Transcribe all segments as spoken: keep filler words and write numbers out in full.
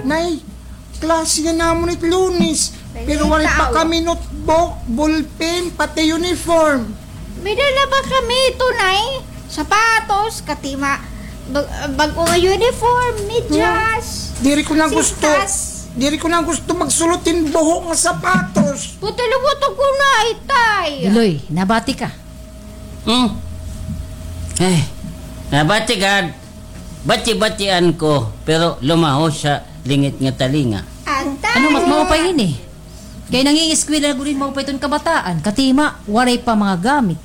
Nay, klase nga namon it Lunes. Pero waray pa kami notebook, ballpen, pati uniform. May dala ba kami ito, Nay? Sapatos, katima, bag-, bag-o nga uniform, medyas, diri ko na gusto. Sintas. Diri ko na gusto magsulot hin buho nga sapatos. Puti luwat ako na, itay. Biloy, nabati ka? Hmm. Ay, nabati gad. Bati-batian ko, pero lumaho sa lingit nga talinga. Atay. Ano, mas maupay ini? Kay nangingiskwela gud hin maupay iton kabataan, katima, waray pa mga gamit.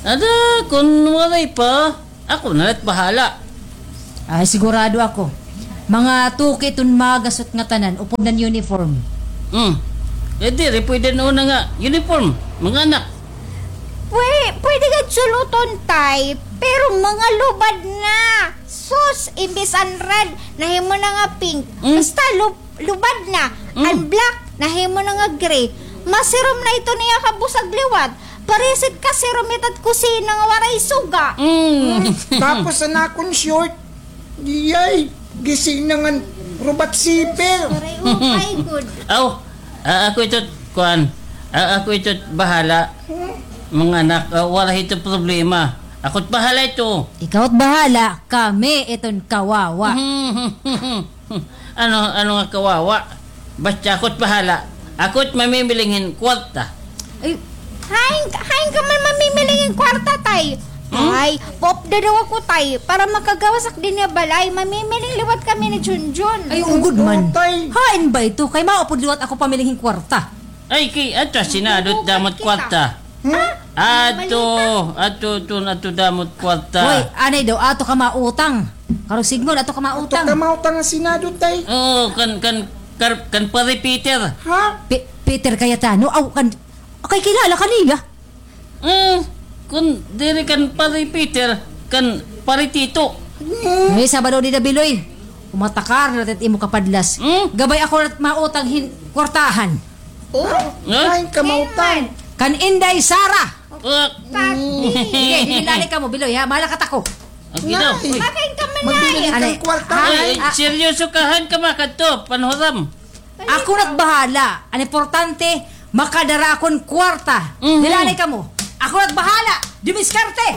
Ada, kun waray pa, ako na la't bahala. Ay, sigurado ako. Mga tuki iton magasot nga tanan, upod nan uniform. Hmm. Eh, diri pwede na una nga uniform, mga anak. Pwe-, pwede gad suluton, tay, pero mga lubad na. Sus, imbis an red, nahimo na nga pink. Mm. Basta lub-, lubad na. Mm. An black, nahimo na nga gray. Masirom na ito niya kabusag liwat. Paresit ka sirom ita't kusina nga waray suga. Mm. Tapos an akon short, diyay, gising na ngan rubat zipper. Aray, oh my God. Aw, a-, ako ito't, kuan, a-, ako ito't bahala. Mga anak, a, wala ito problema. Ako't bahala ito. Ikaw't bahala, kami iton kawawa. Ano, ano nga kawawa? Basta ako't bahala. Ako't mamimiling hin kwarta. Ay, hain, hain ka man mamimiling hin kwarta, tay? Hmm? Ay, popda daw ako, tay. Para makagawas ak dinhi ha balay, mamimiling liwat kami ni Junjun. Ay, ugod man. Tay. Hain ba ito? Kay maupod liwat ako pamiling hin kwarta. Ay, kay, ato, Senado, damot kwarta. Hmm? Ato, ato, ato, ato, damot kwarta. Hoy, anay daw, ato ka mautang. Karuyag sidngon, ato ka mautang. Ato ka mautang ha Senado, tay. Oo, kan, kan, kar-, kan Pare Peter. Ha? Pe-, Peter Cayetano? Aw, kan, kay kilala ka niya? Hmm, kun diri kan Pare Peter, kan Pare Tito. Hmm. Ay, Sabado dida, Biloy. Umatakar na tit imo kapadlas. Hmm? Gabay ako na mautang hin kwartahan. Oh? Huh? Hain ka mautang? Kan Inday Sara. Ah. Sige, dili, lalay kamo, Biloy, ha? Mahala ka tako. Ang ginaw. Nay, makain ka man, magbibigay kang kwarta, ha? Ay, ay, seryoso ka, hain ka makadto, panhuram. Ako na't bahala. An importante, makadara akon kwarta. Mhm. Dili, lalay kamo. Ako na't bahala. Dumiskarte.